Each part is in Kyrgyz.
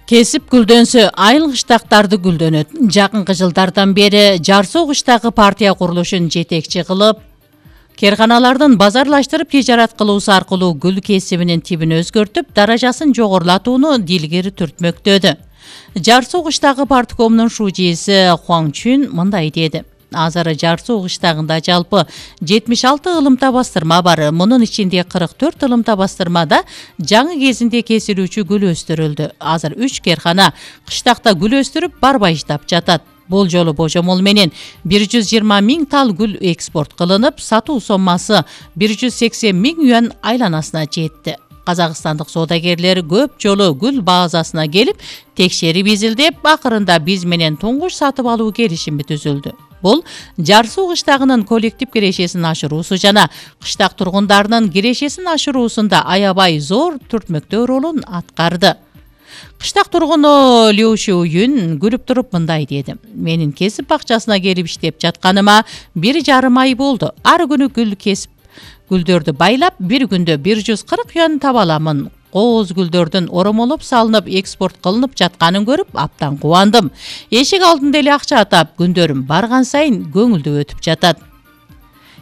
Кесип гүлдөнсө айыл кыштактарды гүлдөнөт. Жакынкы жылдардан бери Жар Суу кыштагы партия курулушун жетекчи кылып, керканалардын базарлаштырып тижарат кылуусу аркылуу гүл кесибинин тибин өзгөртүп, даражасын жогорулатууну дилгери түртмөктөдү. Жар Суу кыштагы парткомунун шужиси Хуаң Чүн мындай деди. Азыр Жар Суу кыштагында жалпы 76 ылымта бастырма бар. Мунун ичинде 44 ылымта бастырмада жаңы кезинде кесилүүчү гүл өстүрүлдү. Азыр 3 керкана кыштакта гүл өстүрүп барбайыштап жатат. Бул жолу божомол менен 120 миң тал гүл экспорт кылынып, сатуу соммасы 180 миң юан айланасына жетти. Казакстандык соодагерлер көп жолу гүл базасына келип, текшерип изилдеп, акырында биз менен туңгуш сатып алуу келишими түзүлдү. Бул Жар Суу кыштагынын коллектив кирешесин ашыруусу жана кыштак тургундарынын кирешесин ашыруусунда аябай зор түртмөктөө ролун аткарды. Кыштак тургуну Лю Шуюн күлүп туруп мындай деди. Менин кесип бакчасына келип иштеп жатканыма 1,5 ай болду. Ар күнү гүл кесип, гүлдөрдү байлап, бир күндө 140 юан таба аламын. Кооз гүлдөрдүн оромолоп салынып экспорт кылынып жатканын көрүп абдан кубандым. Эшик алдында эле акча атап, күндөрүм барган сайын көңүлдүү өтүп жатат.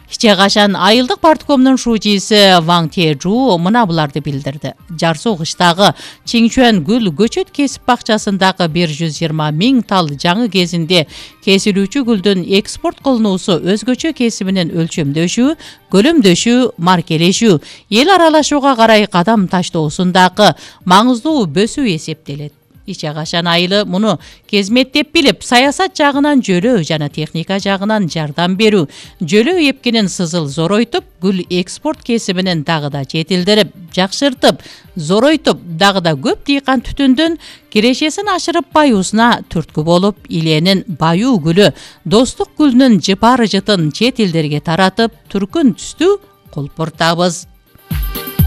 Иче кашан айылдык парткомунун шужиси Ваң Тежу мына буларды билдирди. Жар Суу кыштагы Чиңчуан гүл көчөт кесип бакчасындагы 120 миң тал жаңы кезинде кесилүүчү гүлдүн экспорт кылынуусу өзгөчө кесибинин өлчөмдөшүү, көлөмдөшүү, маркелешүү, эл аралашууга карай кадам таштоосундагы маңыздуу бөсүү эсептелет. Иче кашан айылы муну кезметтеп билип, саясат жагынан жөлөө жана техника жагынан жардам берүү, жөлөө эпкинин сызыл зоройтуп, гүл экспорт кесибинин дагы да жетилдирип, жакшыртып, зоройтуп, дагы да көп дыйкан түтүндүн кирешесин ашырып баюусуна түрткү болуп, иленин баюу гүлү, достук гүлүнүн жыпары жытын чет элдерге таратып, түркүн түстүү кулпуртабыз.